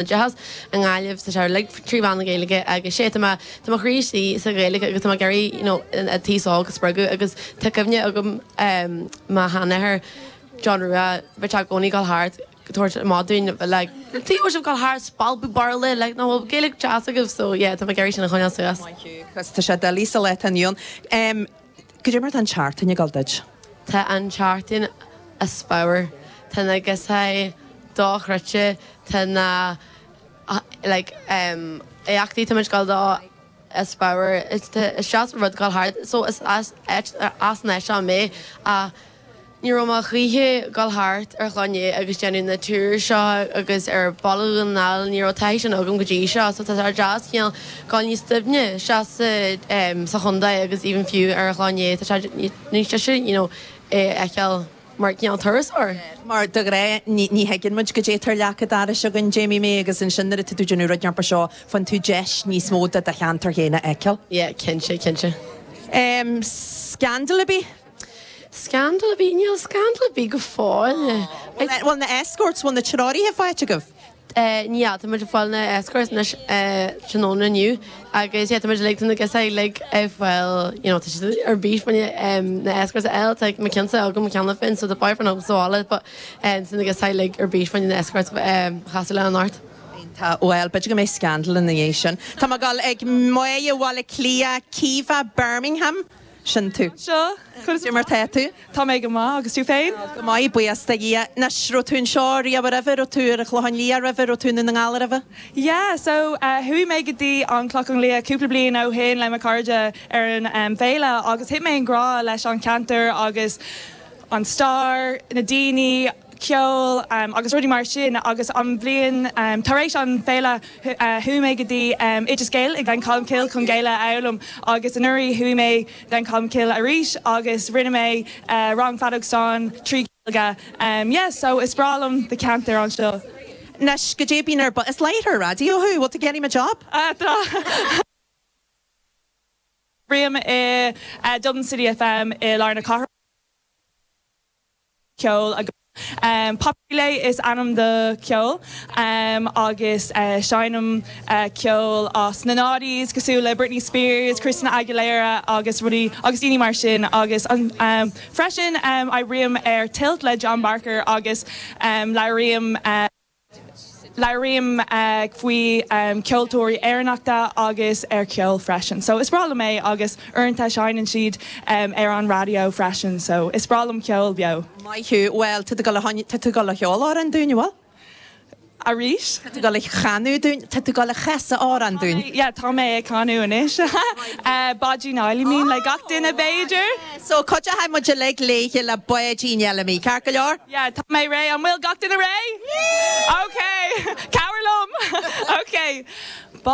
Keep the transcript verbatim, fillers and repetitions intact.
oideachas i nGaillimh sa sé like trí mheán na Gaeilge agus sé tá tá mo chroí istigh sa Ghaeilge agus tá mé ag iarraidh you know an t-aos óg a spreagadh agus tá cuimhne agam um, mo sheanathair John Rua bheith i gcónaí ag gabháil thart tabhairt maidún like tí sibh gabháil thart spalpadh Béarla like no Gaeilge deas agaibh so yeah tá mé ag iarraidh sin a choinneáil suas. Cos tá sé doiligh sa lá atá inniu ann. Cad é mar tá an tseachtain ag gabháil duit. Tá an tseachtain as pabhar Tá na gosá dochreidte tá na like um, éachtaí tá muid ag gabháil dó as pabhar is just rud gabháil thart so is as as an seo mé a ní raibh mé choíche gabháil thart ar Chloinne agus déanamh na tour seo agus ar Bhaile Dhún na nGall ní raibh taithí sin agam go dtí seo so tá ar deas cineál gabháil níos doimhne se sa chontae agus even fiú ar Chloinne tá sé níos deise you know é fheiceáil mar cineál turasóir. Mar de ghnáth ní thuigeann muid go dtétar leaca daris againn Jamie mé agus ansin nuair atá tú déanamh rud mar seo faigheann tú deis níos mó de do cheantar féin a fheiceáil. Yeah, cinnte cinnte. Um, Scandal a bhí? Scandal a bhí níl scandal a bhí go fóill. Bhfuil na escorts bhfuil na treoraithe faighte agaibh? Ní tá muid fáil na escorts anois tráthnóna inniu agus tá muid like na gosá like fáil you know tá siad ar bís faoin na escorts eile tá mo cheannsa agam mo cheanna féin so the boyfriend agam sa bhaile but um, na gosá like ar bís faoin na escorts um, chasadh le an art. Tá well b'fhéidir go mbeidh scandal ina dhiaidh sin. Tá mé ag gabháil ag Máire Bhaile Cliath Caoimhe Birmingham sin tú. Seo Cad mar tá tú? Tá mé go maith agus tú féin? Go maith buíochas do Dhia Anois raibh tú anseo riamh roimhe raibh tú ar an Chlochán Liath roimhe raibh tú i nDún na nGall roimhe? Yeah, so uh, chuaigh mé go dtí an Clochán Liath cúpla bliain ó shin le mo chairde ar an um, féile agus thit mé i ngrá leis an ceantar agus an stair, na daoine, ceol um, agus rudaí mar sin agus an bhliain um, tar éis an féile uh, chuaigh mé go dtí um, Oideas Gael ag Gleann Cholm chun Gaeilge a fhoghlaim agus anuraidh chuaigh mé Gleann Cholm arís agus rinne mé uh, rang feadóg stáin trí Ghaeilge. Um, yeah, so is breá liom the ceantar anseo. Anois go dé bín ar is láithreoir raidió thú, bhfuil tú getting a job? Uh, Oibrím i uh, Dublin City FM i lár na cathrach ceol agus Um, Populé is ainm do ceol um, agus uh, seinnim uh, ceol as na noughties cosúil le Britney Spears, Christina Aguilera agus rudaí agus daoine mar sin agus um, um, freisin um, oibrím ar Tilt le John Barker agus um, labhraím uh, Labhraím uh, faoi um, ceoltóirí Éireannacha agus ar ceol freisin. So is breá liom é agus uaireanta seinneann siad um, ar an raidió freisin, so is breá liom ceol beo. Maith thú well tá tú ag gabháil a cheol amhrán dúinn bhfuil? Arís? Tá tú ag gabháil a chanadh dúinn tá tú ag gabháil a chasadh amhrán dúinn. Yeah, tá mé ag canadh anois. uh, Báidín Fheidhlimidh le gach duine b'fhéidir. So cuideoidh muid le léithe le Báidín Fheidhlimidh, ceart go leor? Yeah, tá mé réidh an bhfuil gach duine réidh? Okay, Cabhair liom. Okay.